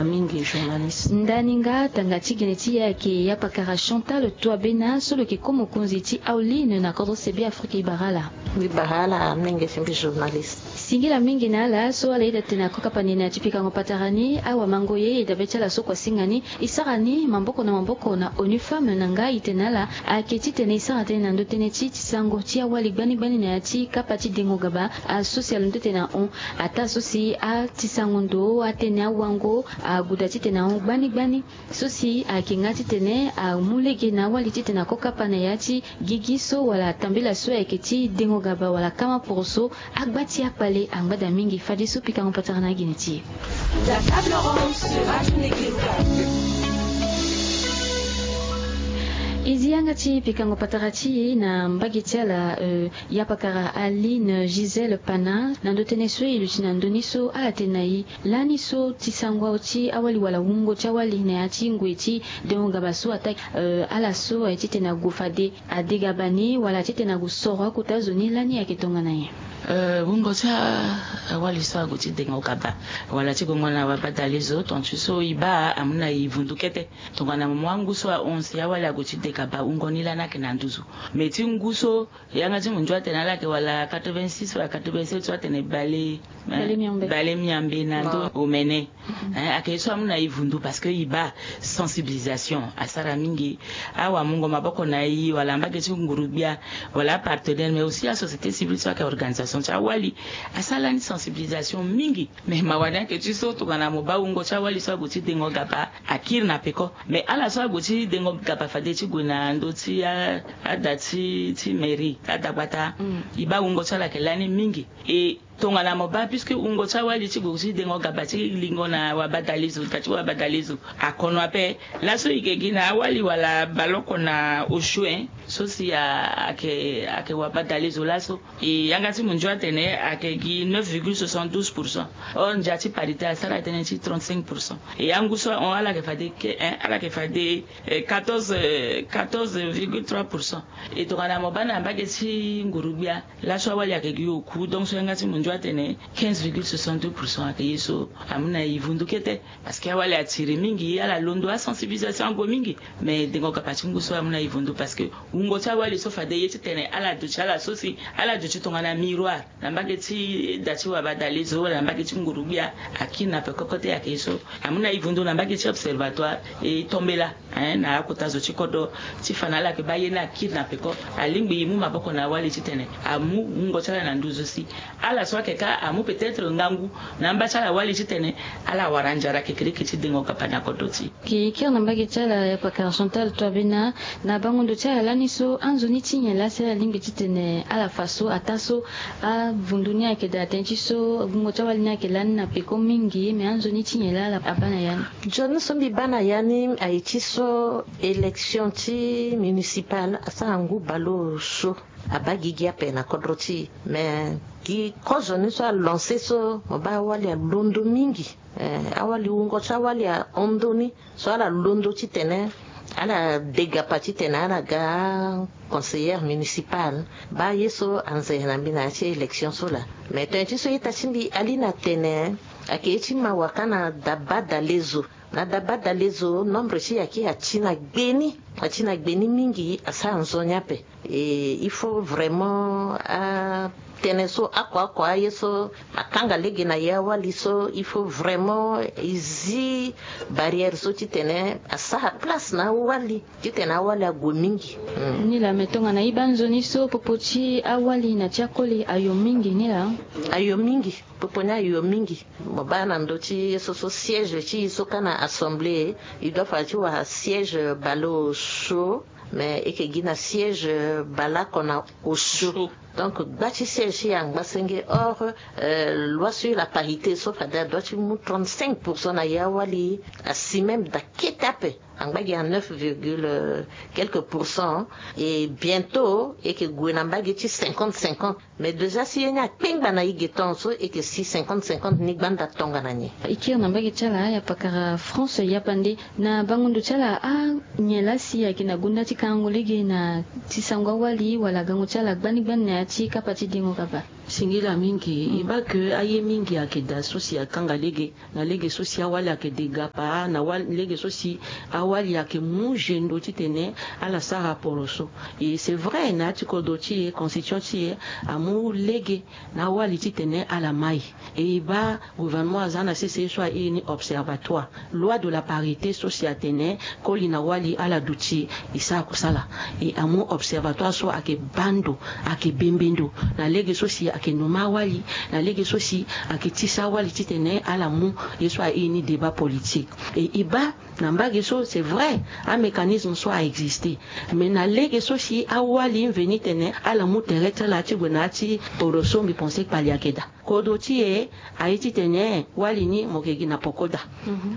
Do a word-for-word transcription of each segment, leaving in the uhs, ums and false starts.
Mingi journaliste. Ndani nga tanga ti gene ti e ayeke yapakara Chantal Touabena so lo yeke ko mokonzi ti Aoline na kodro se Be Afrika. E bara ala. E bara ala mingi ti mbi journaliste. Singila mingi na ala so ala iri atene ako kapa ni na ya ti pikango patara ni, awamango ye e dabe ti ala so kua singa ni. E sara ni maboko na maboko na ONU Femmes na nga e tene na ala ayeke titene e sara tënë na ndö tënë ti tisango ti awali gbani gbani na ya ti kapa ti dengo gaba, aso si alondo tene ahon. Ataa so si atisango ndo atene awango ague daa titene ahon gbani gbani. So si ayeke nga titene amu lege na awali titene ako kapa na ya ti gigi so wala tambela so ayeke ti dengo gaba wala kama poroso. Agba ti akpale angba daa mingi. Fadeso pikango patara na agene ti e. La table ronde sera une équipe. E zi yanga ti pikango patara ti e na mbage ti ala, euh, yapakara Aline Gisèle Pana na ndö tënë so e luti na ndö ni so ala tene na e. Lani so tisango ti awali wala wungo ti awali na ya ti ngoi ti dengo gaba so ataa, euh, ala so aye titene ague fade adegaba ni wala titene ague soro akota zo ni, lani ayeke tongana nyen? Euh, wungo ti a-, awali so ague ti dengo gaba wala ti gongo na wabadale zo, tontu so e baa amu na e vundu kete. Tongana mo mu angu so ahon si awali ague ti de gaba, wungo ni lani ayeke na nduzu. Mais ti ngu so yanga ti mo nzu atene ala yeke wala quatre-vingt-six wala quatre-vingt-sept so atene bale, eh, bale miambe, bale miambe na ndo omene. Mhm. Eh, ayeke ye so amu na e vundu parce que e baa sensibilisation asara mingi. Awamungo maboko na e wala mbage ti nguru-gbia wala apartenaire, mais aussi asociété civile so ayeke organisation ti awali asara lani sensibilisation mingi. Mais mawa ni ayeke ti so tongana mo baa wungo ti awali so ague ti dengo gaba akiri na peko. Mais ala so ague ti dengo gaba fade ti gue na ndö ti a-, ada ti, ti mairie, adagbata. Mm. E baa wungo ti ala ayeke lani mingi. E tongana mo baa, puisque wungo ti awali ti gue ti dengo gaba ti lingo na wabadale zo, da ti wabadale zo akono ape. Laso e yeke gi na awali wala baleoko na osio, eh, so si a-, ayeke, ayeke wabadale zo laso. E yanga ti mo nzu atene ayeke gi neuf virgule soixante-douze pour cent. Or ndia ti parité asara tënë ti trente-cinq pour cent. E angu so ahon ala yeke fade ke-, eh, ala yeke fade, eh, quatorze, eh, quatorze virgule trois pour cent. E tongana mo baa na mbage ti nguru-gbia, laso awali ayeke gi oku, donc so yanga ti mo nzu atene quinze virgule soixante-deux pour cent ayeke ye so amu na e vundu kete. Parce que awali atiri mingi, ala londo asensibilisation ague mingi. Mais dengo gaba ti ngu so amu na e vundu parce que wungo ti awali so fade ye titene ala duti ala so si ala duti tongana miroir na mbage ti da ti wabadale zo wala na mbage ti nguru-gbia akiri na peko kote. Ayeke ye so amu na e vundu na mbage ti observatoire e tombela, hein, na akota zo ti kodro ti fa na ala yeke baa ye ni akiri na peko. Alingbi e mu maboko na awali titene amu wungo ti ala na nduzu si ala so ayeke ka amu peut-être ngangu na amba ti ala wali titene ala wara nzara kekereke ti dengo gaba na kodro ti e. Ke kiri na mbage ti ala, ya pakara Chantal Touabena, na bango ndo ti ala lani so anzoni ti nyen laa si ala lingbi titene ala fa so ataa so avundu ni ayeke daa tënë ti so wungo ti awali ni ayeke lani na peko mingi, me anzoni ti nyen laa ala abaa na ya ni? Nzoni so mbi baa na ya ni aye ti so élection ti municipale asara ngu baleoso. Abaa gigi ape na kodro ti e. Me gi kozoni so alance so mo baa awali alondo mingi. Eh, awali wungo ti awali ahon ndoni so ala londo titene ala de gaba titene ala ga conseillère municipale. Baa ye so anze na mbi na ya ti élection so laa. Me tene ti so ita ti mbi ali na tene ayeke ye ti mawa kâ na dabadale zo. Na dabadale zo, nombre ti e ayeke ati na gbe ni, ati na gbe ni mingi, asara nzoni ape. Et il faut vraiment atënë so oko oko aye so akanga lege na ye awali so, il faut vraiment e zi barrière so titene asara place na awali titene awali ague mingi. Hmm. Ni laa, me tongana e baa nzoni so popo ti awali na ti akoli ayo mingi ni laa? Ayo mingi. Popo ni ayo mingi. Mo baa na ndö ti ye so so siège ti e so kâ na assemblée, e doit fa ti wara siège baleoso. Mais e yeke gi na siège baleoko na osio. Donc gba ti siège ti e angba senge. Or, euh, loi sur la parité so fade adoit ti mu trente-cinq pour cent na ye awali asi même daa kete ape. Angba gi na neuf virgule quelques pour cent. Et bientôt e yeke gue na mbage ti cinquante cinquante. Mais déjà si ye ni akpengba na e ge ton so, e yeke si cinquante cinquante ni gbanda tongana nyen? E kiri na mbage ti ala, ya pakara France Yapande, na bango ndo ti ala, anyen laa si ayeke na gonda ti kangango lege na ti sango awali wala gango ti ala gbani gbani na ya ti kapa ti dengo gaba? Singila mingi, e baa ke aye mingi ayeke daa so si akanga lege, na lege so si awali ayeke degapa, na wali, lege so si awali ayeke mu gendo titene ala sara poroso. E c'est vrai, na ya ti kodro ti e, constitution ti e amu lege na awali titene ala mai. E e baa gouvernement aza na sese ye so airi ni observatoire, loi de la parité so si atene koli na wali ala duti e sara kusala. E amu observatoire so ayeke baa ndo, ayeke bembe ndo na lege so si ayeke nommé awali, na lege so si ayeke tisa awali titene ala mu ye so airi ni débat politique. E e baa na mbage so c'est vrai, amécanisme so a-existe, mais na lege so si awali mveni tene ala mu tere ti ala ti gue na ya ti poroso, mbi pense kpali ayeke daa. Kodro ti e aye titene wali ni mo yeke gi na poko daa.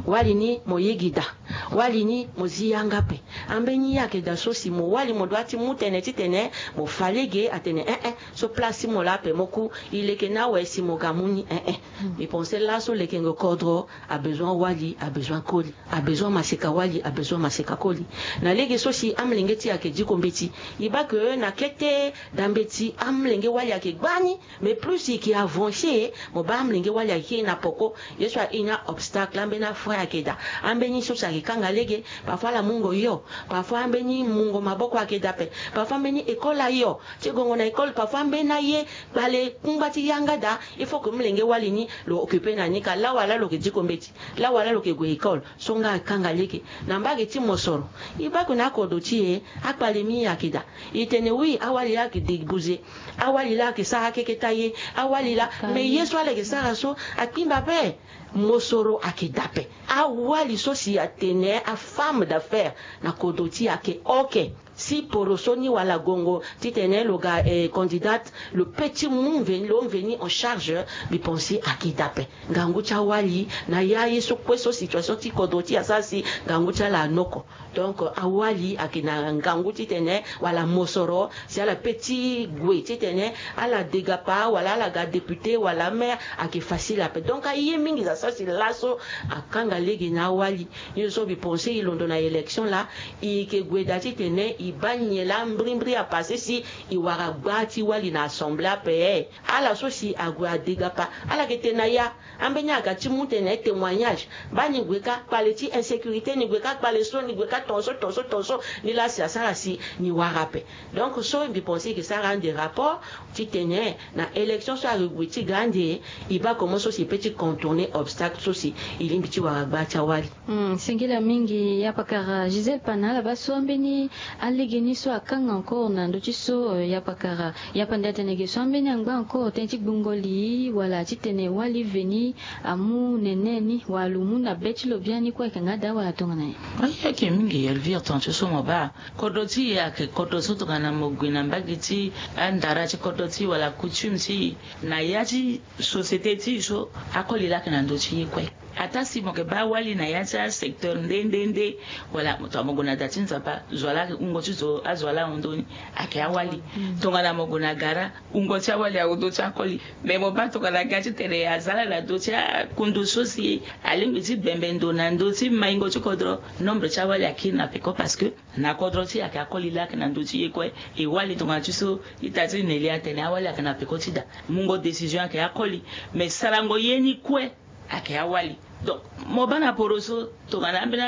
Wali ni mo yege daa. Wali ni mo zi yanga ape. Ambeni ye ayeke daa so si mo wali mo doit ti mu tënë titene mo fa lege atene eh eh, so place ti mo laa ape, mo ku e leke ni awe si mo ga mu ni eh eh. Mbi pense laso lekengo kodro abezoin wali, abezoin koli, abezoin maseka wali, abezoin maseka koli. Na lege so si amolenge ti e ayeke diko mbeti, e baa ke na kete daa mbeti amolenge wali ayeke gbani. Mais plus e yeke avancer, mo baa amolenge wali ayeke na poko. Ye so airi ni a-obstacle, ambeni a-frein ayeke daa. Ambeni so si ayeke kanga lege, parfois ala mungo hio, parfois ambeni mungo maboko ayeke daa ape, parfois ambeni école ahio ti gongo na école, parfois ambeni aye kpale kungba ti yanga daa. Il faut que molenge wali ni lo occupé na ni ka lawala lo yeke diko mbeti, lawala lo yeke gue école. So nga akanga lege na mbage ti mosoro. E baa ke na akodro ti e akpale mingi ayeke daa. E tene oui, awali laa ayeke débouser, awali laa ayeke sara keke ti aye, awali laa. Mais ye so ala yeke sara so akpingba ape. Mosoro ayeke daa ape. Awali so si atene a-femme d'affaires na kodro ti e ayeke oke. Si poroso ni wala gongo titene lo ga eh, candidate, lo peut ti mu mveni, lo mveni en charge. Mbi pense ayeke daa ape. Ngangu ti awali na ya ye so kue so situation ti kodro ti e asara si ngangu ti ala anoko. Donc awali ayeke na ngangu titene wala mosoro si ala peut ti gue titene ala degapa wala ala ga député wala maire, ayeke facile ape. Donc aye mingi za so si laso akanga lege na awali. Ye so mbi pense e londo na élection laa, e yeke gue daa titene e baa nyen laa mbrimbri apassé si e wara gbaa ti wali na assemblée ape. Ala so si ague adegapa, ala yeke tene na ya. Ambeni aga ti mu tene témoignage. Baa ni gue kâ kpale ti insécurité, ni gue kâ kpale so, ni gue kâ tongaso tongaso tongaso. Ni laa si asara si ni wara ape. Donc so mbi pense e yeke sara ande rapport titene na élection so ayeke gue ti ga ande, e baa comment so si e peut ti contourner obstacle so si e lingbi ti wara gbaa ti awali. Hmm, singila mingi ya pakara Gisèle Pana. Ala baa so ambeni alege ni so akanga encore na ndö ti so, eh, ya pakara, ya pande atene ge so ambeni angba encore tënë ti gbungo li wala titene wali veni amu nene ni wala lo mu na be ti lo biani kue ayeke nga daa wala tongana nyen? Aye ayeke mingi Elvire, tongana ti so mo baa kodro ti e ayeke kodro so tongana mo gue na mbage ti andara ti kodro ti e wala coutume ti e na ya ti société ti e so akoli laa ayeke na ndö ti ye kue. Ataa si mo yeke baa awali na ya ti asecteur nde nde nde, wala mo tongana mo gue na da ti nzapa, zo wa laa ayeke wungo ti zo, azo wa laa ahon ndö ni, ayeke awali. Tongana mo gue na gara, wungo ti awali ahon ndö ti akoli. Mais mo baa tongana ga titene aza laa na ndö ti akundu so si alingbi ti bembe ndo na ndö ti maingo ti kodro, nombre ti awali akiri na peko parce que na kodro ti e ayeke akoli laa ayeke na ndö ti ye kue. E wali tongana ti so ita ti Nelia atene awali ayeke na peko ti da. Mungo décision ayeke akoli. Mais sarango ye ni kue ayeke awali. Donc mo baa na poro so tongana ambeni,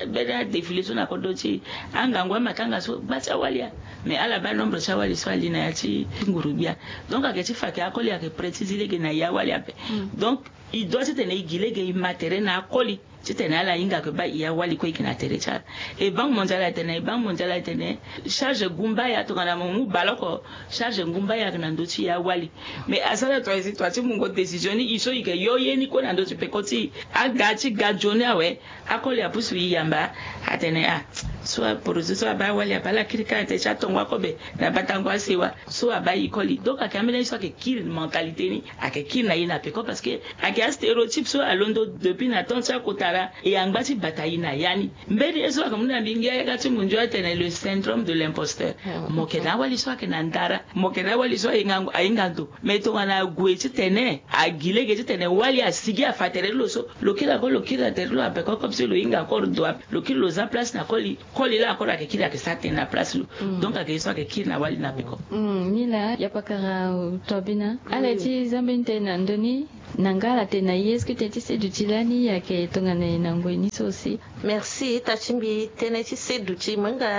mbeni adéfilé so na kodro ti e, angangu amatanga so gbaa ti awali ya. Mais ala baa nombre ti awali so ali na ya ti nguru-gbia. Donc ayeke ti fa ayeke akoli, ayeke prêt ti zi lege na e awali ape. Donc e doit titene e gi lege e ma tere na akoli titene ala hinga ayeke baa e awali kue e yeke na tere ti ala. E Banque mondiale atene, e Banque mondiale atene charge gumbaya tongana mo mu baleoko, charge gumbaya ayeke na ndö ti e awali. Mais asara tua e si tua ti mungo décision ni, e so e yeke yo ye ni kue na ndö ti peko ti e. Aga ti ga nzoni awe, akoli apusu e yamba, atene ah, so aporoso so abaa awali ape, ala kiri kâ ete ti atongo akobe na batango asewa. So abaa e koli. Donc ayeke ambeni ye so ayeke kiri mentalité ni, ayeke kiri na e na peko parce que ayeke astéréotype so alondo depuis na temps ti akotara. E angba ti bata e na ya ni. Mbeni ye so ayeke mu na mbi ngia yanga ti mundio atene le syndrome de l'imposteur. Mo yeke na awali so ayeke na ndara, mo yeke na awali so ahinga, ahinga ndo. Mais tongana ague titene agi lege titene wali asigi afa tere ti lo so, lo kiri ako, lo kiri na tere ti lo na peko comme si lo hinga encore ndo ape. Lo kiri lo za place na koli. Koli laa ankoro ayeke kiri ayeke sara tënë na place lo. Donc ayeke ye so ayeke kiri na wali na peko. Ni laa ya pakara. Tobina ala ye ti za mbeni tënë na ndö ni. Na nga ala tene na ye est-ce que tënë ti seduti lani ayeke tongana e na ngoi ni so aussi? Merci ita ti mbi. Tënë ti seduti mo hinga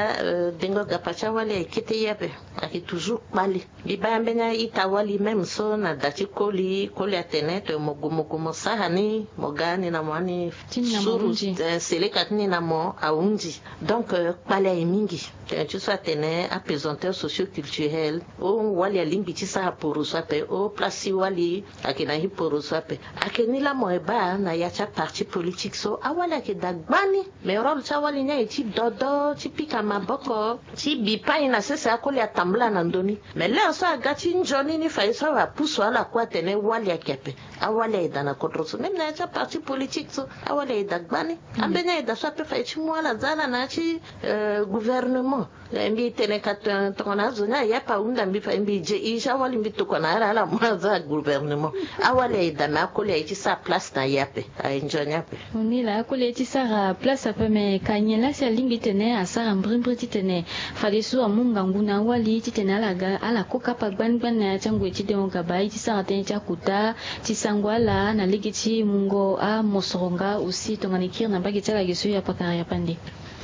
dengo gapa ti awali ayeke kete ye ape. Ayeke toujours kpale. Mbi baa mbeni a-ita wali même so na da ti koli koli atene te mo gue mo gue mo sara ni mo ga ni na mo ani suru. Seleka ti ni na mo ahunzi. Donc kpale aye mingi. Tënë ti so atene apesanteur socio-culturel o wali alingbi ti sara poroso ape o place ti wali. Ayeke na hiporoso ape. Ayeke ni laa mo ye baa na ya ti aparti politique so awali ayeke daa gbani. Mais rôle ti awali ni aye ti dodo ti pika maboko ti bi pain na sese akoli atambula na ndö ni. Mais l'heure so aga ti nzoni ni fayi so awe apusu ala kue atene wali ayeke ape. Awali aye daa na kodro so même na ya ti aparti politique so awali aye daa gbani. Ambeni aye daa so ape fayi ti mu ala za ala na ya ti gouvernement. Mbi tene ka tongana azo ni aye ape ahunda mbi fayi mbi je ige awali mbi tokua na ala ala mu aza gouvernement. Awali aye daa me akoli aye ti sara place na ye ape. Aye nzoni ape. Ni laa akoli aye ti sara place ape me ka nyen laa si alingbi titene asara mbrimbri titene fadeso amu ngangu na awali titene ala ga ala ko kapa gbani gbani na ya ti angoi ti dengo gaba aye ti sara tënë ti akota ti sango ala na lege ti mungo amosoro nga aussi tongana e kiri na mbage ti ala ge so ya pakara ya pande.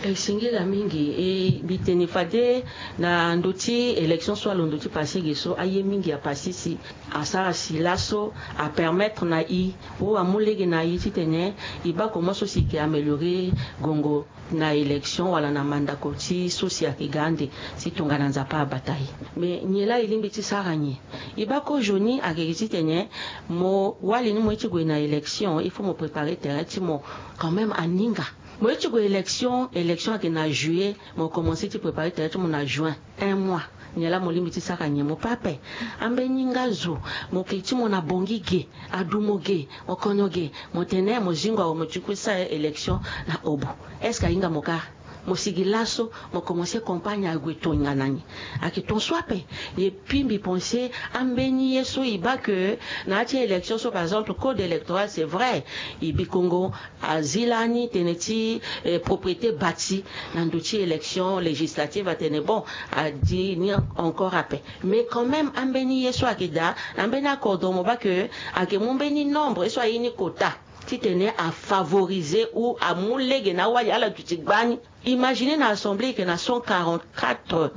E singila mingi e mbi tene fade na ndö ti élection so alondo ti pase ge so aye mingi apase si asara si laso apermettre na e o amu lege na e titene e baa comment so si e ke améliorer gongo na élection wala na mandako ti so si ayeke ga ande si tongana nzapa abata e. Mais nyen laa e lingbi ti sara nyen? E baa kozoni ayeke gi titene mo wali ni mo ye ti gue na élection il faut mo préparer terrain ti mo quand même aninga. Mo ye ti gue élection élection ayeke na juillet. Mo commencer ti préparer terrain ti mo na juin un mois. Nyen laa mo lingbi ti sara nyen mo pe ape? Ambeni nga zo mo ke ti mo na bongi ge adu mo ge mo kono ge mo tene mo zingo awe mo ti kue sara élection na obo. Est-ce que ahinga mo kâ? Mo sigi laso mo commencer campagne ague tonga na ni. Ayeke ton so ape. Et puis mbi pense ambeni ye so e baa ke na ya ti élection so par exemple code électoral c'est vrai e bi kongo azi lani tënë ti propriété bâtie na ndö ti élection législative atene bon adi ni encore ape. Mais quand même ambeni ye so ayeke daa na mbeni akodro mo baa ke ayeke mu mbeni nombre ye so aye ni kota titene afavoriser ou amu lege na awali ala duti gbani. Imaginer na assemblée e yeke na cent quarante-quatre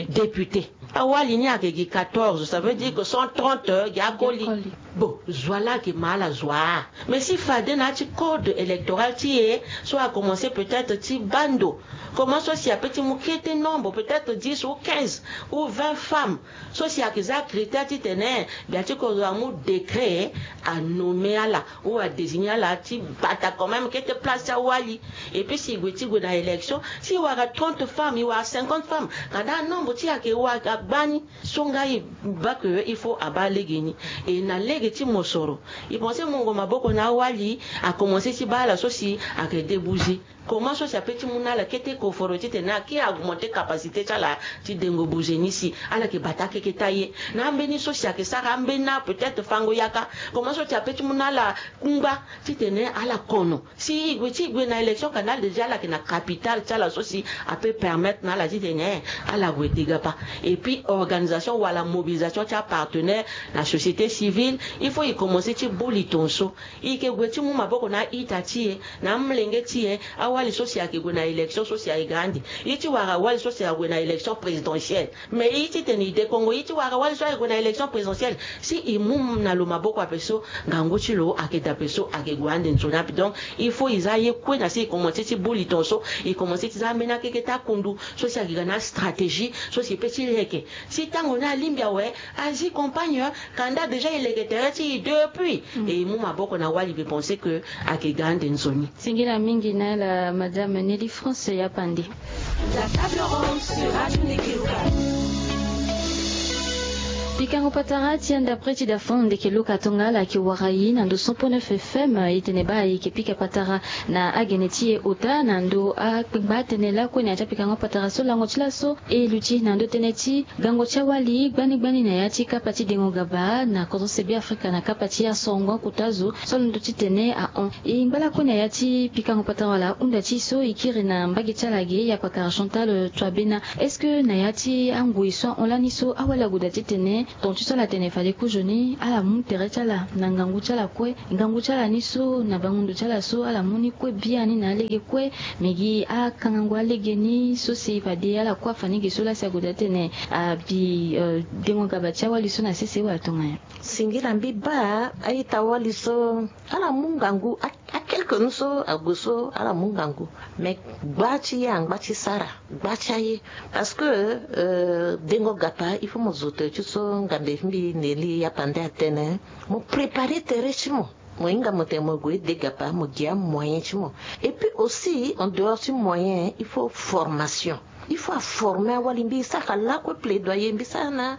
députés. Awali ni ayeke gi quatorze ça veut dire que cent trente gi akoli. Bon zo wa laa ayeke ma ala zo wa. Mais si fade na ya ti code électoral ti e so akomencer peut-être ti baa ndo comment so si ape ti mu kete nombre peut-être dix ou quinze ou vingt femmes so si ayeke za critère titene gbia ti kodro amu décret anommer ala ou adésigner ala ti bata quand même kete place ti awali. Et puis si e gue ti gue na élection si e wara trente femmes e wara cinquante femmes kanda anombre ti e ayeke wara gbani. So nga e baa ke il faut abaa lege ni. E na lege ti mosoro e pense mungo maboko na awali akomencer ti baa ala so si ayeke débouger. Comment so si ape ti mu na ala kete koforo titene aki augmenter capacité ti ala ti dengo bouger ni si ala yeke bata akeketa ye na ambeni so si ayeke sara ambeni na peut-être fango yaka. Comment so si ape ti mu na ala kungba titene ala kono si e gue ti e gue na élection kanda déjà ala yeke na capital ti ala so si ape permettre na ala titene ala gue degapa. Et puis organisation wala mobilisation ti apartenaire na société civile il faut e komencer ti boli tonso. E yeke gue ti mu maboko na a-ita ti e na amolenge ti e. Awali so si ayeke gue na élection so si ayeke ga ande. E ti wara awali so si ague na élection présidentielle. Mais e ti tene e de kongo e ti wara awali so ayeke gue na élection présidentielle si e mu na lo maboko ape so ngangu ti lo ayeke daa ape so ayeke gue ande nzoni ape donc il faut e za aye kue na si e komense ti boli tonso. E komense ti za ambeni akeke ti akundu so si ayeke ga na astratégie so si e pe ti leke si tango ni alingbi awe azi campagne. Kanda déjà e leke tere ti e depuis e mu maboko na wali mbi pense que ayeke ga ande nzoni. Singila mingi na ala madame Nelly France ya pande. La table ronde sur Radio Nekeluka. Pikango patara ti anda preti da fond ndeke luka tongala ki wara yi na ndo cent point neuf F M. Itene ba yi ke pika patara na agene ti ye ota na ndo akpengba atene lakue na ya ti apikango patara so lango ti laso e luti na ndo tënë ti gango ti awali gbani gbani na ya ti kapa ti dengo gaba na kodro sebi afrika na kapa ti asorongo akuta zo. So londo ti tene ahon e ngba lakue na ya ti pikango patara wala ahunda ti so e kiri na mbage ti ala ge ya pakara chantal tuabena. Est-ce que na ya ti angoi so ahon lani so awali agoda ti tene tonga ti so ala tene fade kozoni ala mu tere ti ala na ngangu ti ala kue. Ngangu ti ala ni so na bangundu ti ala so ala mu ni kue biani na alege kue. Me gi akangango alege ni so si fade ala kue afa ni ge so lasi agoda ti tene abi dengo gaba ti awali so na sese wala tonga nyen? Singila mbi baa a-ita-wali so ala mu ngangu. Akelke nu so ague so ala mu ngangu. Me gba ti ye angba ti sara gba ti aye. Parce que dengo gapa il faut mo zo tere ti so ngambe mbi neli ya pande atene mo prépare tere ti mo. Mo hinga mo tene mo gue de gapa mo gi amoyen ti mo. Et puis aussi en dehors ti moyen il faut formation. Il faut aforme awali mbi sara lakue plaidoyer mbi sara na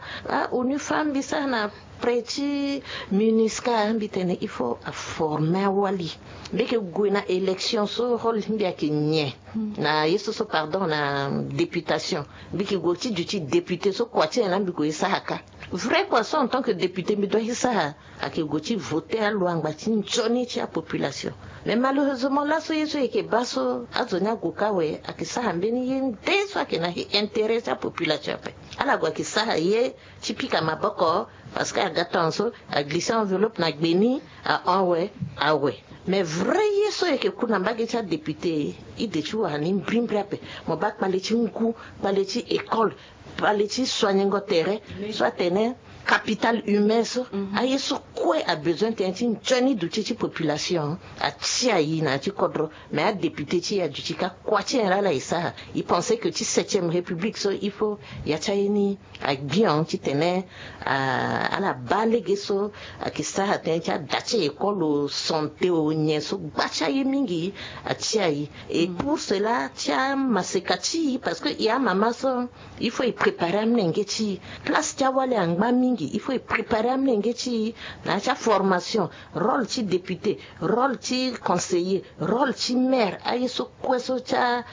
onu femme mbi sara na près ti minusca mbi tene il faut aforme awali. Mbi yeke gue na élection so rôle ti mbi ayeke nyen? Na ye so so pardon na députation mbi yeke gue ti duti député so kua ti nyen laa mbi gue e sara ka. Vrai kua so en tant que député mbi doit ti sara ayeke gue ti vote alo angba ti nzoni ti apopulation. Mais malheureusement laso ye so e yeke baa so azo ni ague ka awe ayeke sara mbeni ye nde so ayeke na intérêt ti apopulation ape. Ala gue ayeke sara ye ti pika maboko parce que aga tonga so aglisse enveloppe na gbe ni ahon awe awe. Mais vrai ye so e yeke ku na mbage ti adéputé ide ti wara ni mbrimbri ape. Mo baa kpale ti ngu kpale ti école kpale ti soignengo tere so atene capital humain so aye so kue abesoin tënë ti nzoni duti ti population atia e na ya ti kodro. Mais adéputé ti e aduti ka kua ti nyen laa ala e sara? E pense que ti septième république so il faut ya ti aye ni agbion titene ala baa lege so ayeke sara tënë ti ada ti école o santé o nyen so gba ti aye mingi atia e. Et pour cela ti amaseka ti e parce que e amama so il faut e prépare amlenge ti e. Place ti awali angba mingi il faut e prépare amlenge ti e na ya ti aformation, rôle ti député, rôle ti conseiller, rôle ti maire aye so kue so ti a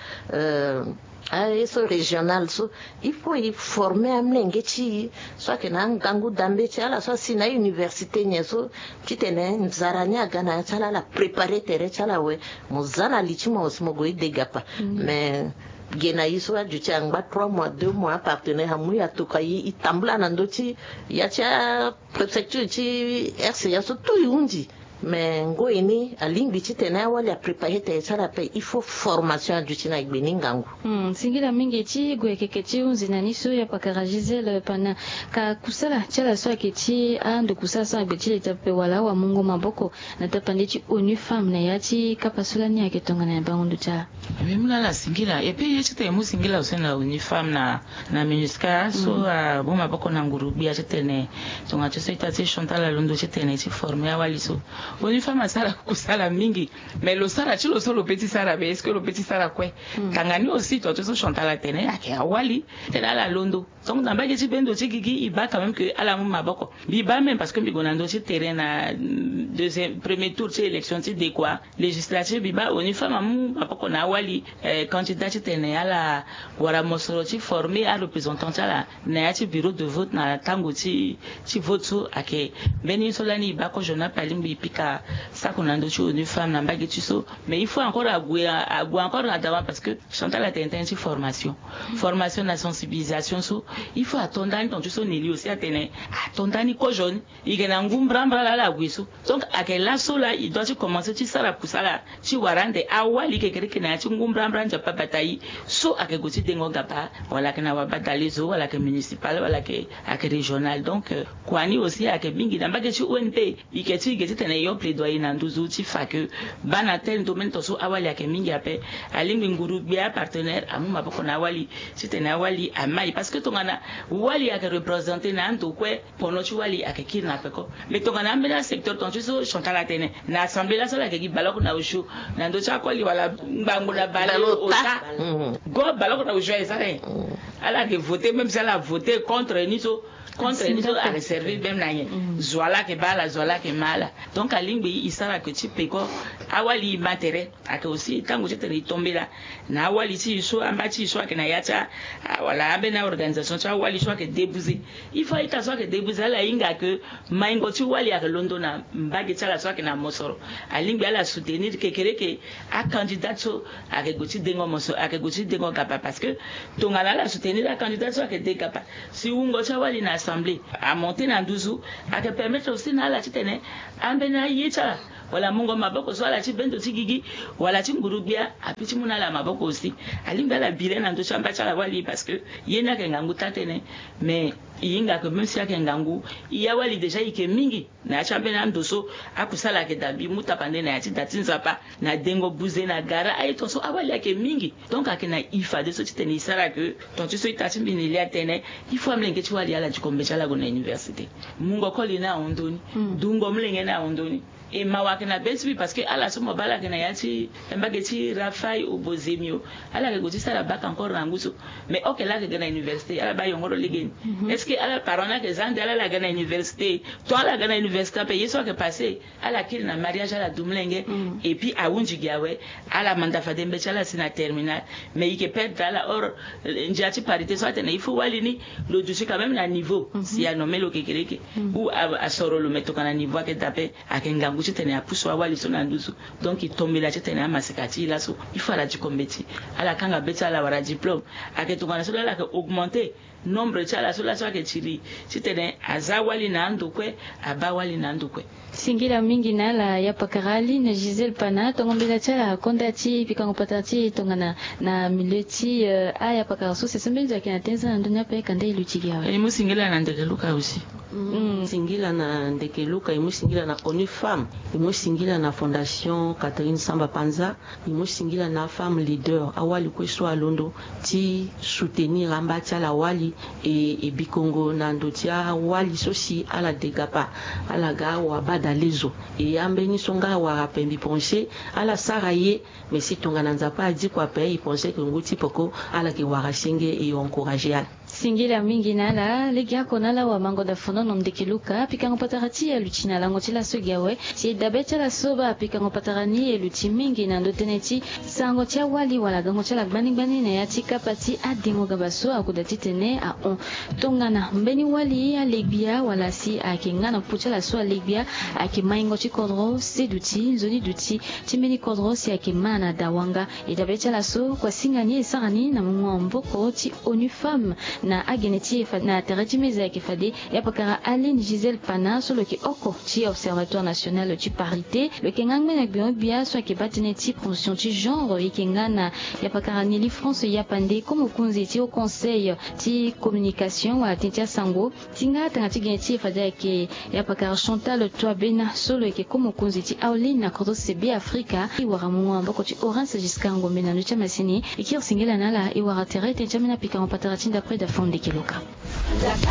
aye so régional so il faut e forme amlenge ti e so ayeke na angangu dambe ti ala so asi na université nyen so titene nzara ni aga na ya ti ala ala prépare tere ti ala awe. Mo za na li ti mo si mo gue e de gapa. Mais ge na e so aduti angba trois mois deux mois apartenaire amu e atokua e e tambula na ndö ti ya ti apréfecture ti rca so tout e hunzi. Mais ngoi ni alingbi titene awali aprépare tere ti ala ape il faut formation aduti na gbe ni ngangu. Singila mingi ti gue keke ti hunzi na ni so ya pakara gisele pana ka kusala ti ala so ayeke ti ando kusala so na gbe ti leta ape wala awamungo maboko na tapande ti onu femme na ya ti kapa so lani ayeke tongana ya bango ndo ti ala. Mbi mu na ala singila et puis ye titene e mu singila aussi na onu femme na na minusca so abu maboko na nguru gbia titene tonga ti so ita ti chantal alondo titene ti forme awali so. Onu femme asara kusala mingi. Mais lo sara ti lo so lo pe ti sara be est-ce que lo pe ti sara kue? Tanga ni aussi tonga ti so chantal atene ayeke awali titene ala londo. Donc na mbage ti bendo ti gigi e baa quand même que ala mu maboko. Mbi baa même parce que mbi gue na ndö ti terrain na deuxième premier tour ti élection ti dekua législative mbi baa onu femme amu maboko na awali candidat titene ala wara mosoro ti forme areprésentant ti ala na ya ti bureau de vote na tango ti ti vote so ayeke mbeni ye so lani e baa kozo na ape alingbi e pika sako na ndö ti onu femme na mbage ti so. Mais il faut encore ague ague encore na dawa parce que chantal atene tënë ti formation. Formation na sensibilisation so il faut ato ndani tonga ti so neli aussi atene ato ndani kozo ni. E yeke na ngu mbrambra laa ala gue so. Donc ayeke laso laa e doit ti commence ti sara kusala ti wara ande awali kekereke na ya ti ngu mbrambra nzapa bata e so ayeke gue ti dengo gaba wala ayeke na wabadale zo wala ayeke municipal wala ayeke ayeke régional. Donc kua ni aussi ayeke mingi na mbage ti O N P. E yeke ti e ge titene e yo plaidoyer na nduzu ti fa que baa na tel domaine tonga so awali ayeke mingi ape. Alingbi nguru gbia partenaire amu maboko na awali titene awali amai parce que tongana wali ayeke représenter na ando kue. Pono ti wali ayeke kiri na peko. Mais tongana ambeni asecteur tonga ti so chantal atene na assemblée laso ala yeke gi baloko na osio na ndö ti akoli wala ngbangbo na bale ota. Go baloko na osio aye sara nyen? Ala yeke voter même si ala voter contre ni so. Contre ni so ake servir même na nyen? Zo ala ake baa ala, zo ala ake ma ala. Donc alingbi e sara ke ti peko awali e ma tere. Ake aussi tango ti tene e tombela na awali ti e so, amba ti e so ake na ya ti a, wala ambeni organisation ti awali so ake débouze. Il faut a-ita so ake débouze ala hinga ke maingo ti wali ake londo na mbage ti ala so ake na mosoro. Alingbi ala soutenir kekereke acandidat so ake gue ti dengo moso, ake gue ti dengo gapa, parce que tongana ala soutenir acandidat so ake de gapa, si wungo ti awali na assemblée amonte na nduzu, ake permettre aussi na ala titene ambeni aye ti ala wala mungo maboko so ala ti bendo ti gigi wala ti nguru-gbia ape ti mu na ala maboko aussi. Alingbi ala bira na ndö ti amba ti ala wali, parce que ye ni ake ngangu taa-tënë. Mais e hinga ke même si ake ngangu, e awali déjà e yeke mingi na ya ti ambeni ando so akusala ake da mbi mu tapande na ya ti da ti Nzapa, na dengo buze na gara aye ton so awali ake mingi. Donc ake na e fadeso titene e sara ke ton ti so ita ti mbi na e lia tënë, il faut amolenge ti wali ala diko mbeti ala gue na université. Mungo koli ni ahon ndoni, dungo molenge ni ahon ndoni. E mawa ake na be ti mbi parce que ala so mo baa ala ake na ya ti mbage ti Rafaï ou Bozemio, ala ake gue ti sara bac encore na ngu so. Mais ok, ala ake ga na université, ala baa yongoro legeni. Est-ce que ala parent ni ake za ande ala, ala ga na université? To ala ga na université ape, ye so ake passé, ala kiri na mariage, ala du molenge. Et puis ahunzi gi awe, ala manda fade mbeti ala si na terminal. Mais e yeke perdre ala. Or ndia ti parité so atene il faut wali ni lo duti quand même na niveau si a nommé lo kekereke ou a, asoro lo, mais tongana niveau ake da ape, ake ngangu titene apusu awali so na nduzu. Donc e tombela titene amaseka ti e laso, il faut ala diko mbeti, ala kanga be ti ala wala diplôme. Ake tongana so laa ala ake augmenter nombre ti ala so laa so ake tiri titene aza wali na ando kue, abaa wali na ando kue. Singila mingi na ala yapakara Aline Gisèle Pana, tongo mbela ti ala akonda ti pikango patara ti e tongana na milieu ti, eh, ayapakara so. Sese mbeni zo ayeke na tenza na ndö ni ape, kanda e luti gi awe. E mu singila na ndeke Luka aussi. Mm. Singila na ndeke Luka, e mu singila na ONU Femmes, e mu singila na Fondation Catherine Samba Panza, e mu singila na afemme leader, awali kue so alondo ti soutenir amba ti ala wali, e, e bikongo na ndo ti awali so si ala de gapa, ala ga awa badalezo. E ambeni so nga awara ape mbi pense ala sara ye, mais si tongana Nzapa adiko ape, e pense ke ngu ti peko ala yeke wara senge, e encourager ala. Singila mingi na ala. Lege oko na ala wamango dafonono ndeke Luka, pikango patara ti e aluti na lango ti laso gi awe. Si e dabe ti ala so baa pikango patara ni e luti mingi na ndö tënë ti sarango ti awali wala gango ti ala gbani gbani na ya ti kapa ti adengo gaba so akoda titene ahon. Tongana mbeni wali alegbia wala si ayeke nga na popo ti ala so alegbia, ayeke maingo ti kodro, se duti, nzoni duti ti mbeni kodro si ayeke ma na dawanga. E dabe ti ala so kua singa ni e sara ni na mungo maboko ti ONU Femmes na agene ti e fa-, na tere ti meza ayeke fade yapakara Aline Gisèle Pana so lo yeke oko ti Observatoire National ti Parité. Lo yeke nga ngbene gbio gbia so ayeke baa tënë ti promotion ti genre. E yeke nga na yapakara Nelly France Yapande, komokonzi ti Haut Conseil ti communication wala tënë ti asango. Ti nga tanga ti gene ti e fade ayeke yapakara Chantal Touabena so lo yeke komokonzi ti Aoline na kodro se Be Afrika. E wara mungo maboko ti Horace Giscard Ngombe na ndö ti amasini. E kiri singila na ala, e wara tere tënë ti ambeni apikango patara ti ndapre dafono ndeke Luka.